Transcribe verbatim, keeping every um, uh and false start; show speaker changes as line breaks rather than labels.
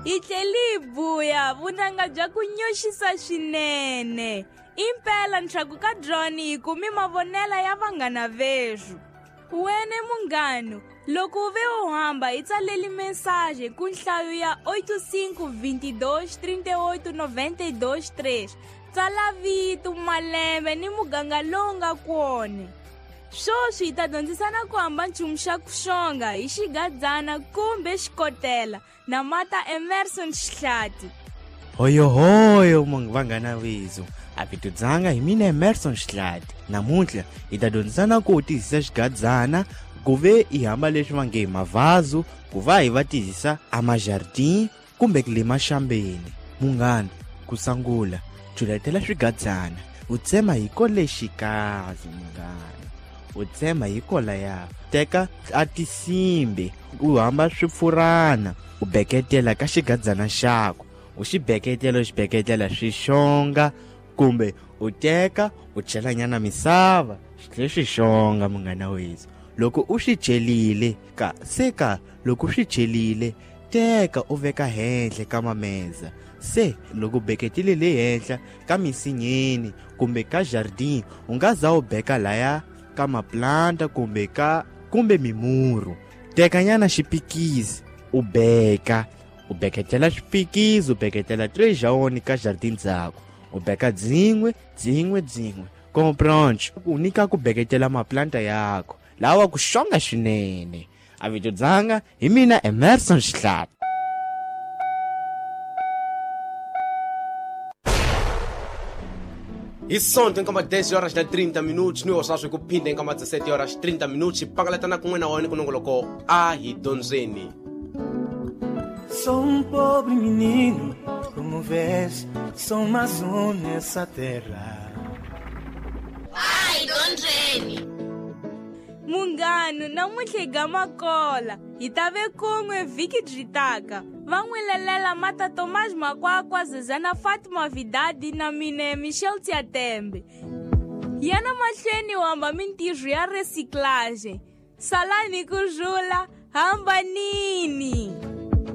Hi tlheli hi buya vunanga bya ku nyoxisa swinene. Impela ntlhaku ka drone hi kumi mavonela ya vanghana veshu. Wene munghano, loko u ve u hamba hi tsaleli mensagem ku nhlayo ya oito cinco vinte e dois trinta e oito noventa e dois três. Tsala vito, malembe ni muganga lowu nga kona. Sweswi hi ta dyondzisana ku hamba nchumu xa ku xonga hi xigadzana kumbe xikotela na mata Emerson Xihlati.
Hoyohoyo vanghana vezu, a vito dzanga hi mina Emerson Xihlati. Namuntlha hi ta dyondzisana ku tihisa xigadzana ku ve hi hamba leswi va nge hi mavhazu, ku va hi va tihisa a majardin kumbe ku le maxambeni. Munghana, ku sungula culetela swigadzana, u tsema hi ko lexikazi munghana, u tsema hi ko laya. Teka a tisimbi u hamba swipfurana, u beketela ka xigadzana xako, u xi beketela u xi beketela swi xonga, kumbe u teka u chelanyana misava xi tlhe swi xonga munghana wethu. Loko u swi celile ka se ka loko u swi celile teka u veka henhla ka mameza. Se loko beketile le henhla ka misinyeni kumbe ka jardin, u nga za u beka laya ka maplanta kumbe ka kumbe mimuru. Tekanyana xipikisi u beka, u beketela xipikisi, u beketela três jaone ka jardin dzako, u beka dzin'we dzin'we dzin'we. Comprendre u nyika ku beketela maplanta yako lawa ku xonga swinene. A vito dzanga hi mina Emerson Xihlati.
Hi Sonto nkama dez horas na trinta minutos, ni osaswi ku phinda nkama dezessete horas trinta minutos, pangalatana kun'we na wona ku nongoloko a hi dyondzeni.
Sou um pobre menino, como vês, sou mais um nessa terra.
Ai, dyondzeni.
Munghano, namuntlha hi gama kola, hi ta ve kun'we vhiki byi taka. Va n'wi lelela mata Tomás Makwakwa, Zezana Fatima Vidadi na mina Michel Tiatembe. Yana mahlweni u hamba mintirho ya recyclage. Salani ku rhula, hambanini.